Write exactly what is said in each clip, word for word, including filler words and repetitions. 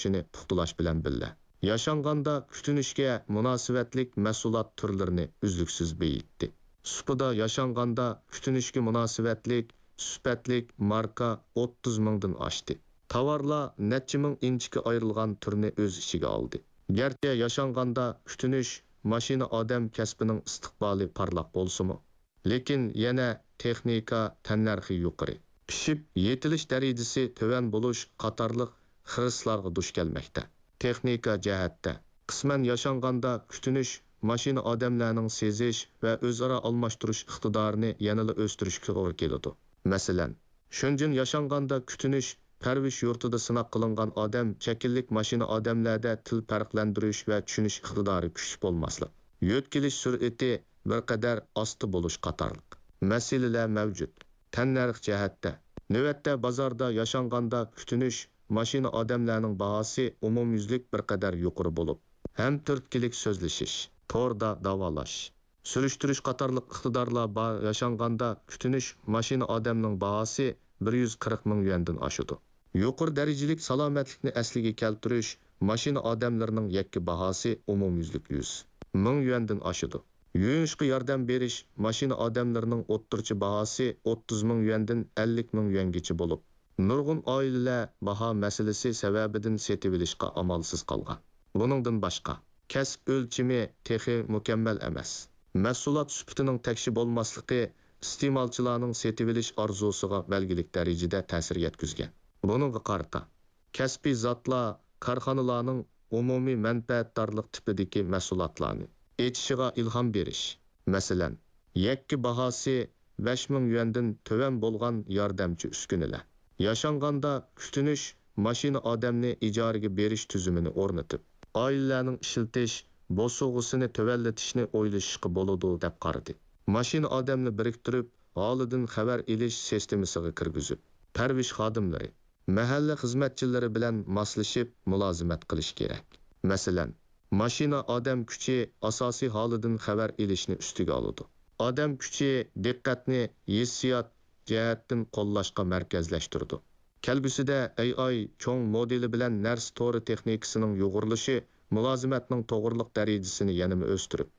كۈچىنى پۇختىلاش بىلەن بىللە، ياشانغاندا كۈتۈنۈشكە مۇناسىۋەتلىك مەھسۇلات تۈرلىرىنى ئۈزلۈكسىز بېيىتتى. سۇپىدا ياشانغاندا كۈتۈنۈشكە مۇناسىۋەتلىك سۈپەتلىك ماركا ئوتتۇز مىڭدىن ئاشتى. تاۋارلار نەچچە مىڭ ئىنچىكە ئايرىلغان تۈرنى ئۆز ئىچىگە ئالدى. گەرچە ياشانغاندا كۈتۈنۈش، ماشىنا، ئادەم كەسپىنىڭ ئىستىقبالى پارلاق بولسىمۇ، لېكىن يەنە تېخنىكا تەننەرخى يۇقىرى، پىشىپ يېتىلىش دەرىجىسى تۆۋەن بولۇش قاتارلىق خىرىسلارغا دۇچ كەلمەكتە. تېخنىكا جەھەتتە، قىسمەن ياشانغاندا كۈتۈنۈش، ماشىنا، ئادەملەرنىڭ سېزىش ۋە ئۆزئارا ئالماشتۇرۇش ئىقتىدارىنى يەنىلا ئۆستۈرۈشكە توغرا كېلىدۇ. مەسىلەن، شېنجېن ياشانغاندا كۈتۈنۈش، پەرۋىش يۇرتىدا سىناق قىلىنغان ئادەم شەكىللىك ماشىنا، ئادەملەردە تىل پەرقلەندۈرۈش ۋە چۈشىنىش ئىقتىدارى كۈچلۈك بولماسلىق، يۆتكىلىش سۈرئىتى بىر قەدەر ئاستا بولۇش قاتارلىق مەسىلىلەر مەۋجۇت. تەننەرخ جەھەتتە، نۆۋەتتە بازاردا ياشانغاندا كۈتۈنۈش، ماشىنا، ئادەملەرنىڭ باھاسى ئومۇميۈزلۈك بىر قەدەر يۇقىرى بولۇپ، ھەم تۈرتكىلىك سۆزلىشىش، توردا داۋالاش، سۈرۈشتۈرۈش قاتارلىق ئىقتىدارلار بار. ياشانغاندا كۈتۈنۈش، ماشىنا، ئادەمنىڭ باھاسى بىر يۈز قىرىق مىڭ يۈەندىن ئاشىدۇ. يۇقىرى دەرىجىلىك سالامەتلىكنى ئەسلىگە كەلتۈرۈش، ماشىنا، ئادەملىرىنىڭ يەككە باھاسى ئومۇميۈزلۈك يۈز مىڭ يۈەندىن ئاشىدۇ. يۇيۇنۇشقا ياردەم بېرىش، ماشىنا، ئادەملىرىنىڭ ئوتتۇرىچە باھاسى ئوتتۇز مىڭ يۈەندىن ئەللىك مىڭ يۈەنگىچە بولۇپ، نۇرغۇن ئائىلىلەر باھا مەسىلىسى سەۋەبىدىن سېتىۋېلىشقا ئامالسىز قالغان. بۇنىڭدىن باشقا، كەسىپ ئۆلچىمى تېخى مۇكەممەل ئەمەس. مەھسۇلات سۈپىتىنىڭ تەكشى بولماسلىقى ئىستېمالچىلارنىڭ سېتىۋېلىش ئارزۇسىغا بەلگىلىك دەرىجىدە تەسىر يەتكۈزگەن. بۇنىڭغا قارىتا، كەسپىي زاتلار كارخانىلارنىڭ ئومۇمىي مەنپەئەتدارلىق تىپىدىكى مەھسۇلاتلارنى ئېچىشىغا ئىلھام بېرىش، مەسىلەن، يەككە باھاسى بەش مىڭ يۈەندىن تۆۋەن بولغان ياردەمچى ئۈسكۈنىلەر، ياشانغاندا كۈتۈنۈش، ماشىنا، ئادەمنى ئىجارىگە بېرىش تۈزۈمىنى ئورنىتىپ، ئائىلىلەرنىڭ ئىشلىتىش بوسۇغىسىنى تۆۋەنلىتىشنى ئويلىشىشقا بولىدۇ، دەپ قارىدى. ماشىنا، ئادەمنى بىرىكتۈرۈپ، ھالىدىن خەۋەر ئېلىش سىستېمىسىغا كىرگۈزۈپ، پەرۋىش خادىملىرى، مەھەللە خىزمەتچىلىرى بىلەن ماسلىشىپ مۇلازىمەت قىلىش كېرەك. مەسىلەن، ماشىنا، ئادەم كۈچى ئاساسىي ھالىدىن خەۋەر ئېلىشنى ئۈستىگە ئالىدۇ. ئادەم كۈچى دىققەتنى ھېسسىيات جەھەتتىن قوللاشقا مەركەزلەشتۈرىدۇ. كەلگۈسىدە ئەي ئاي چوڭ مودېلى بىلەن نەرسە تورى تېخنىكىسىنىڭ يۇغۇرۇلۇشى مۇلازىمەتنىڭ توغرىلىق دەرىجىسىنى يەنىمۇ ئۆستۈرۈپ،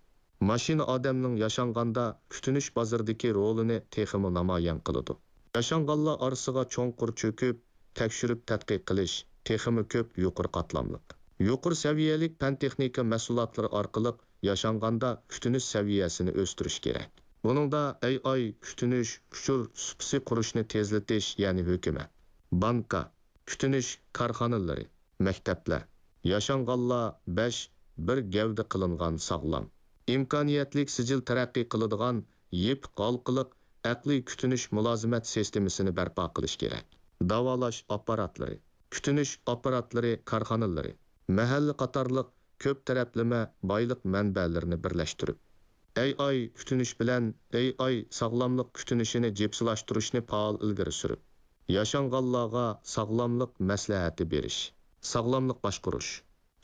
ماشىنا، ئادەمنىڭ ياشانغاندا كۈتۈنۈش بازىرىدىكى رولىنى تېخىمۇ نامايان قىلىدۇ. ياشانغانلار ئارىسىغا چوڭقۇر چۆكۈپ، تەكشۈرۈپ تەتقىق قىلىش، تېخىمۇ كۆپ يۇقىرى قاتلاملىق، يۇقىرى سەۋىيەلىك پەن-تېخنىكا مەھسۇلاتلىرى ئارقىلىق ياشانغاندا كۈتۈنۈش سەۋىيەسىنى ئۆستۈرۈش كېرەك. بۇنىڭدا ئەي ئاي كۈتۈنۈش ئۇچۇر سۇپىسى قۇرۇشنى تېزلىتىش، يەنى ھۆكۈمەت، بانكا، كۈتۈنۈش كارخانىلىرى، مەكتەپلەر، ياشانغانلار بەش بىر گەۋدە قىلىنغان ساغلام، ئىمكانىيەتلىك سىجىل تەرەققىي قىلىدىغان يېپىق ھالقىلىق ئەقلىي كۈتۈنۈش مۇلازىمەت سىستېمىسىنى بەرپا قىلىش كېرەك. داۋالاش ئاپپاراتلىرى، كۈتۈنۈش ئاپپاراتلىرى كارخانىلىرى، مەھەللە قاتارلىق كۆپ تەرەپلىمە بايلىق مەنبەلىرىنى بىرلەشتۈرۈپ، ئەي ئاي كۈتۈنۈش بىلەن ئەي ئاي ساغلاملىق كۈتۈنۈشىنى جىپسىلاشتۇرۇشنى پائال ئىلگىرى سۈرۈپ، ياشانغانلارغا ساغلاملىق مەسلىھەتى بېرىش، ساغلاملىق باشقۇرۇش،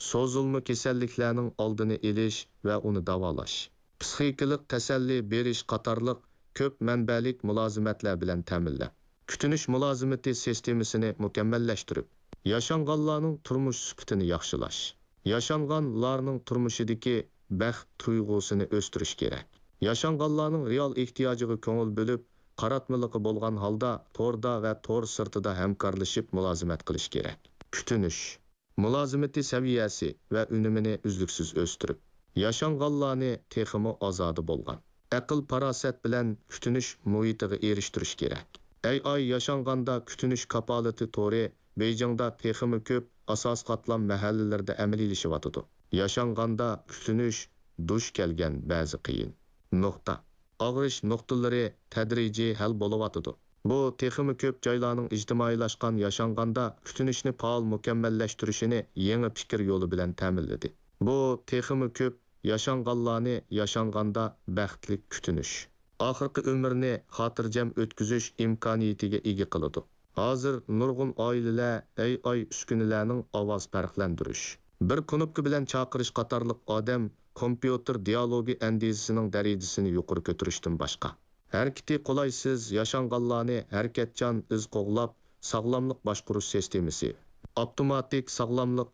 سوزۇلما كېسەللىكلەرنىڭ ئالدىنى ئېلىش ۋە ئۇنى داۋالاش، پىسخىكىلىق تەسەللى بېرىش قاتارلىق كۆپ مەنبەلىك مۇلازىمەتلەر بىلەن تەمىنلەپ، كۈتۈنۈش مۇلازىمىتى سىستېمىسىنى مۇكەممەللەشتۈرۈپ، ياشانغانلارنىڭ تۇرمۇش سۈپىتىنى ياخشىلاش، ياشانغانلارنىڭ تۇرمۇشىدىكى بەخت تۇيغۇسىنى ئۆستۈرۈش كېرەك. ياشانغانلارنىڭ رېئال ئېھتىياجىغا كۆڭۈل بۆلۈپ، قاراتمىلىقى بولغان ھالدا توردا ۋە تور سىرتىدا ھەمكارلىشىپ مۇلازىمەت قىلىش كېرەك. كۈتۈنۈش، مۇلازىمىتى سەۋىيەسى ۋە ئۈنۈمىنى ئۈزلۈكسىز ئۆستۈرۈپ، ياشانغانلارنى تېخىمۇ ئازادە بولغان، ئەقىل-پاراسەت بىلەن كۈتۈنۈش مۇھىتىغا ئېرىشتۈرۈش كېرەك. ئەي ئاي ياشانغاندا كۈتۈنۈش كاپالىتى تورى بېيجىڭدا تېخىمۇ كۆپ ئاساسىي قاتلام مەھەللىلىرىدە ئەمەلىيلىشىۋاتىدۇ. ياشانغاندا كۈتۈنۈش دۇچ كەلگەن بەزى قىيىن نۇقتا، ئاغرىش نۇقتىلىرى تەدرىجىي ھەل بولۇۋاتىدۇ. بۇ تېخىمۇ كۆپ جايلارنىڭ ئىجتىمائىيلاشقان ياشانغاندا كۈتۈنۈشنى پائال مۇكەممەللەشتۈرۈشىنى يېڭى پىكىر يولى بىلەن تەمىنلىدى. بۇ تېخىمۇ كۆپ ياشانغانلارنى ياشانغاندا بەختلىك كۈتۈنۈش، ئاخىرقى ئۆمرىنى خاتىرجەم ئۆتكۈزۈش ئىمكانىيىتىگە ئىگە قىلىدۇ. ھازىر نۇرغۇن ئائىلىلەر ئەي ئاي ئۈسكۈنىلەرنىڭ ئاۋاز پەرقلەندۈرۈش، بىر كۇنۇپكا بىلەن چاقىرىش قاتارلىق ئادەم كومپيۇتېر دىئالوگى ئەندىزىسىنىڭ دەرىجىسىنى يۇقىرى كۆتۈرۈشتىن باشقا، ھەرىكىتى قولايسىز ياشانغانلارنى ھەرىكەتچان ئىز قوغلاپ ساغلاملىق باشقۇرۇش سىستېمىسى، ئاپتوماتىك ساغلاملىق